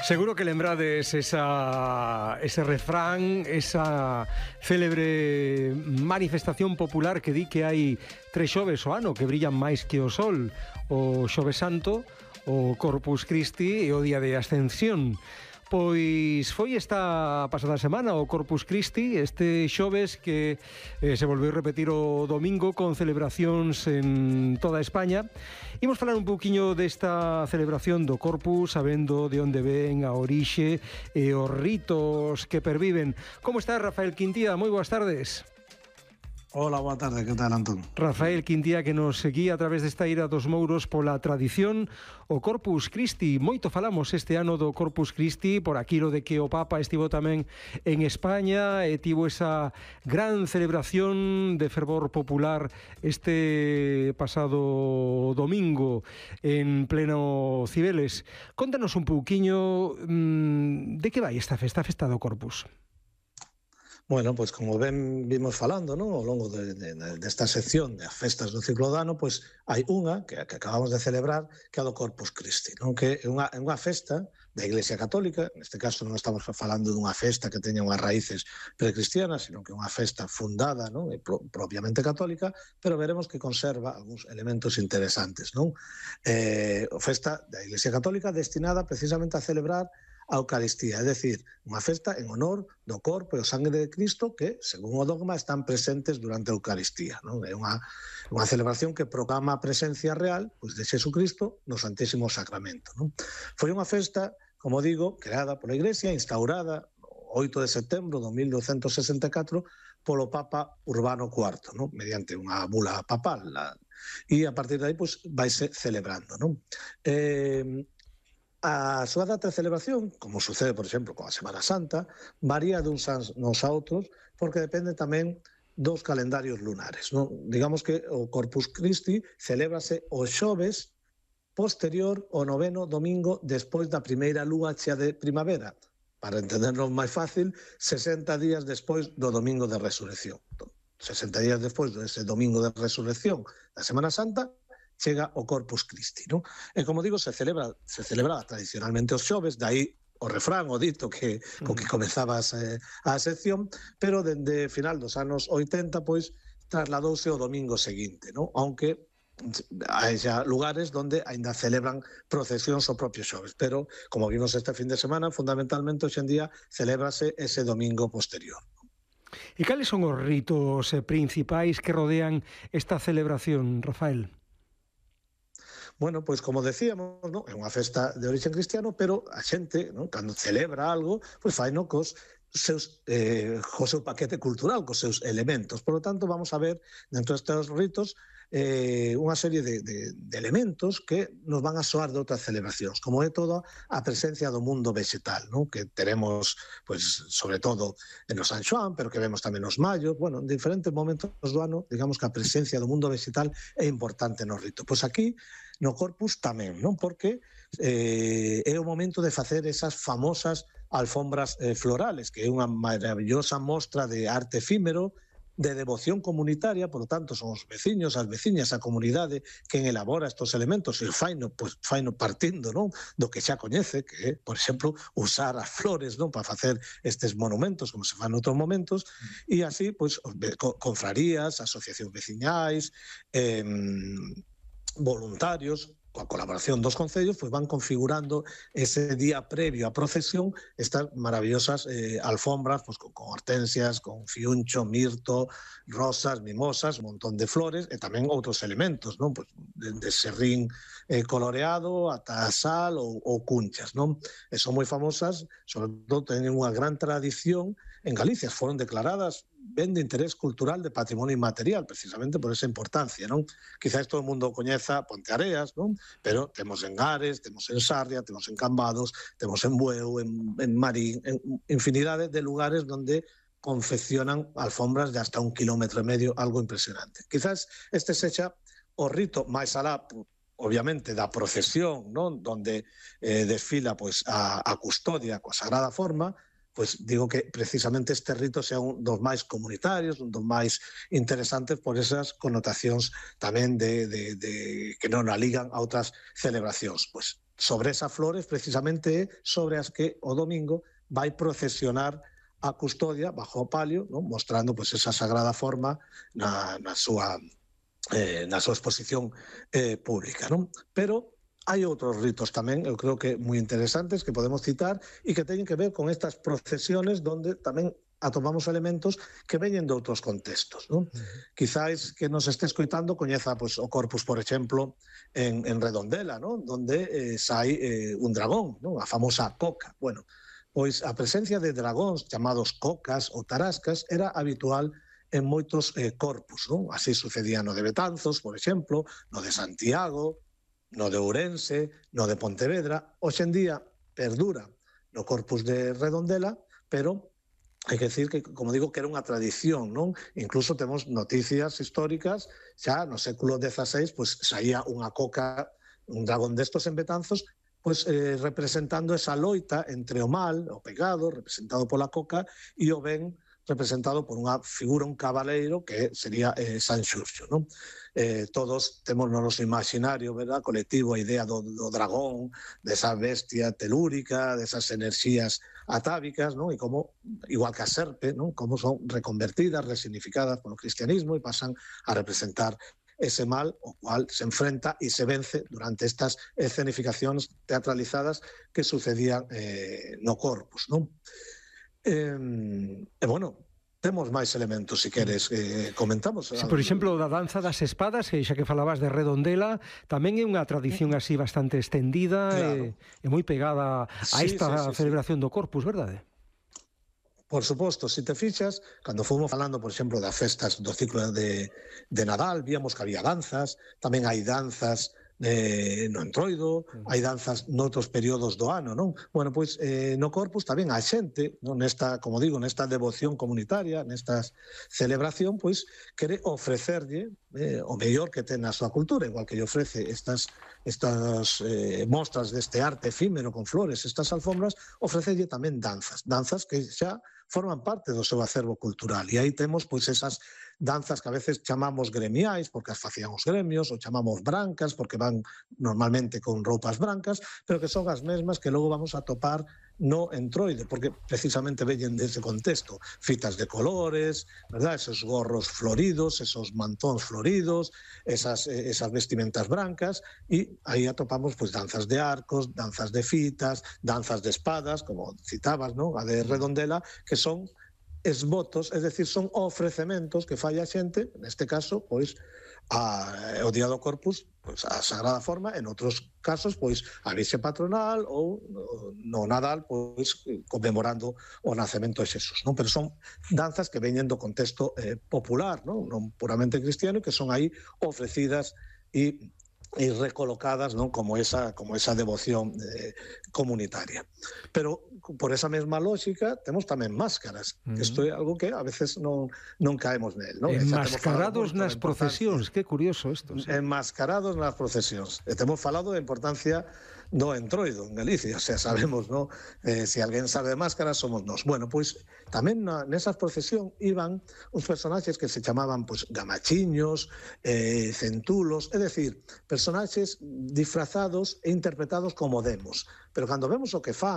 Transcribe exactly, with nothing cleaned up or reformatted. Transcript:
Seguro que lembrades esa, ese refrán, esa célebre manifestación popular que di que hai tres xoves o ano que brillan máis que o sol: o Xoves Santo, o Corpus Christi e o Día de Ascensión. Pois foi esta pasada semana o Corpus Christi, este xoves que eh, se volveu a repetir o domingo con celebracións en toda España. Imos falar un pouquiño desta celebración do Corpus, sabendo de onde ven a orixe e os ritos que perviven. Como está Rafael Quintía? Moi boas tardes. Hola, boa tarde, que tal, Antón? Rafael Quintía, que nos seguía a través desta ira dos Mouros pola tradición, o Corpus Christi. Moito falamos este ano do Corpus Christi por aquilo de que o Papa estivo tamén en España e tivo esa gran celebración de fervor popular este pasado domingo en pleno Cibeles. Contanos un pouquiño mmm, de que vai esta festa, a festa do Corpus. Bueno, pois como ben vimos falando, non, ao longo de, de, desta sección de festas do ciclo do ano, pois hai unha que, que acabamos de celebrar, que é a do Corpus Christi, non? Que é unha, é unha festa da Iglesia Católica. Neste caso non estamos falando dunha festa que teña unhas raíces precristianas, sino que é unha festa fundada, non, e pro, propiamente católica, pero veremos que conserva algúns elementos interesantes, non? Eh, a festa da Iglesia Católica destinada precisamente a celebrar a Eucaristía, é dicir, unha festa en honor do corpo e o sangue de Cristo que, según o dogma, están presentes durante a Eucaristía, non? É unha, unha celebración que proclama a presencia real, pois, de Xesucristo no Santísimo Sacramento, non? Foi unha festa, como digo, creada pola Iglesia, instaurada o oito de setembro de mil douscentos sesenta e catro polo Papa Urbano cuarto, non? Mediante unha bula papal, la... e a partir de aí, pois, vaise celebrando, non? Eh... A súa data de celebración, como sucede, por exemplo, con a Semana Santa, varía duns anos a outros, porque depende tamén dos calendarios lunares, non? Digamos que o Corpus Christi celébrase o xoves posterior ao noveno domingo despois da primeira lúa chea de primavera. Para entendernos máis fácil, sesenta días despois do domingo de resurrección. sesenta días despois dese domingo de resurrección da Semana Santa, chega o Corpus Christi, non? E como digo, se celebra se celebra tradicionalmente os xoves, dai o refrán, o dito que co que comezabas eh, a sección, pero dende final dos anos oitenta, pois, trasladouse o domingo seguinte, non? Aunque hai xa lugares onde aínda celebran procesións o propio xoves, pero, como vimos este fin de semana, fundamentalmente hoxe en día celébrase ese domingo posterior. E cales son os ritos principais que rodean esta celebración, Rafael? Bueno, pois como decíamos, non? É unha festa de origen cristiano, pero a xente, non, cando celebra algo, pois faino cos seus eh, co seu paquete cultural, cos seus elementos. Por lo tanto, vamos a ver dentro destes ritos eh, unha serie de, de, de elementos que nos van a soar de outras celebracións, como é toda a presencia do mundo vegetal, non? Que teremos, pois, sobre todo en o San Xoán, pero que vemos tamén nos mayos. Bueno, en diferentes momentos do ano, digamos que a presencia do mundo vegetal é importante no rito. Pois aquí no Corpus tamén, non? Porque eh, é o momento de facer esas famosas alfombras eh, florales, que é unha maravillosa mostra de arte efímero, de devoción comunitaria. Por lo tanto, son os veciños, as veciñas, a comunidade quen elabora estos elementos, e faino, pues, faino partindo, non, do que xa coñece, que é, por exemplo, usar as flores, non, para facer estes monumentos, como se fan en outros momentos, e así, pois, confrarías, asociacións veciñais, eh, voluntarios, coa colaboración dos concellos, pois van configurando ese día previo á procesión estas maravillosas eh, alfombras, pois, con, con hortensias, con fiuncho, mirto, rosas, mimosas, un montón de flores e tamén outros elementos, non? Pois, de, de serrín eh, coloreado ata sal ou, ou cunchas, non? E son moi famosas, sobre todo teñen unha gran tradición en Galicia, foron declaradas ben de interés cultural, de patrimonio inmaterial, precisamente por esa importancia, non? Quizás todo o mundo coñeza Ponteareas, non? Pero temos en Ares, temos en Sarria, temos en Cambados, temos en Bueu, en, en Marín, en infinidade de lugares onde confeccionan alfombras de hasta un kilómetro e medio, algo impresionante. Quizás este sexa o rito máis alá, obviamente, da procesión, non? Donde eh, desfila, pois, a, a custodia coa sagrada forma, pois digo que precisamente este rito sea un dos máis comunitarios, un dos máis interesantes por esas connotacións tamén de, de, de que non a ligan a outras celebracións. Pois sobre esas flores precisamente sobre as que o domingo vai procesionar a custodia bajo o palio, non? Mostrando pois, esa sagrada forma na, na, súa, eh, na súa exposición eh, pública. Non? Pero hai outros ritos tamén, eu creo que moi interesantes, que podemos citar e que teñen que ver con estas procesiones donde tamén atopamos elementos que veñen de outros contextos. Non? Uh-huh. Quizáis que nos este escoitando coñeza pois, o Corpus, por exemplo, en, en Redondela, non? Donde eh, sai eh, un dragón, non? A famosa coca. Bueno, pois a presencia de dragóns chamados cocas ou tarascas era habitual en moitos eh, corpus. Non? Así sucedía no de Betanzos, por exemplo, no de Santiago, no de Ourense, no de Pontevedra. Hoxe en día perdura no corpus de Redondela, pero hai que decir que, como digo, que era unha tradición, non? Incluso temos noticias históricas, xa no século dieciséis, pois saía unha coca, un dragón destos en Betanzos, pois eh, representando esa loita entre o mal, o pecado, representado pola coca, e o ben, representado por unha figura, un cabaleiro, que sería eh, San Xurxo. Non? Eh, todos temos no noso imaginario, verdad, colectivo, a idea do, do dragón, desa bestia telúrica, desas enerxías atávicas, non? E como, igual que a serpe, non? Como son reconvertidas, resignificadas polo cristianismo e pasan a representar ese mal o cual se enfrenta e se vence durante estas escenificacións teatralizadas que sucedían eh, no Corpus. Non? Eh, e, bueno, temos máis elementos, se queres, eh, comentamos. Sí, por exemplo, da danza das espadas, que xa que falabas de Redondela, tamén é unha tradición así bastante estendida, claro. e, e moi pegada a esta sí, sí, sí, celebración sí. do Corpus, verdade? Por suposto, se te fixas, cando fomos falando, por exemplo, das festas do ciclo de, de Nadal, víamos que había danzas, tamén hai danzas eh, no Entroido, hai danzas noutros períodos do ano, non? Bueno, pois eh, no Corpus tamén a xente, non? Nesta, como digo, nesta devoción comunitaria, nesta celebración, pois quere ofrecerlle eh, o mellor que ten a súa cultura, igual que lle ofrece estas estas eh, mostras deste arte efímero con flores, estas alfombras, ofrecelle tamén danzas, danzas que xa forman parte do seu acervo cultural. E aí temos pois esas danzas que a veces chamamos gremiais, porque as facían os gremios, ou chamamos brancas, porque van normalmente con roupas brancas, pero que son as mesmas que logo vamos a topar no Entroide, porque precisamente veñen dese contexto. Fitas de colores, verdad? Esos gorros floridos, esos mantóns floridos, esas, esas vestimentas brancas, e aí atopamos pois, danzas de arcos, danzas de fitas, danzas de espadas, como citabas, ¿no? A de Redondela, que son esvotos, es decir, son ofrecementos que fai a xente, neste caso, pois, a, o Día do Corpus, pois, a Sagrada Forma, en outros casos, pois, a Virxe Patronal ou no Nadal, pois, conmemorando o nacemento de Xesús, non? Pero son danzas que veñen do contexto eh, popular, non? Non puramente cristiano, que son aí ofrecidas e e recolocadas, non? Como esa como esa devoción eh, comunitaria. Pero por esa mesma lógica temos tamén máscaras. Uh-huh. Isto é algo que a veces non non caemos nel, non? Enmascarados nas procesións, que curioso isto. Sí. Enmascarados nas procesións. E temos falado da importancia do Entroido en Galicia, o sea, sabemos, ¿no? Eh, se alguén sabe de máscaras somos nós. Bueno, pois tamén na, nesas procesión iban uns personaxes que se chamaban pois, gamachiños, eh, centulos, é dicir, personaxes disfrazados e interpretados como demos. Pero cando vemos o que fan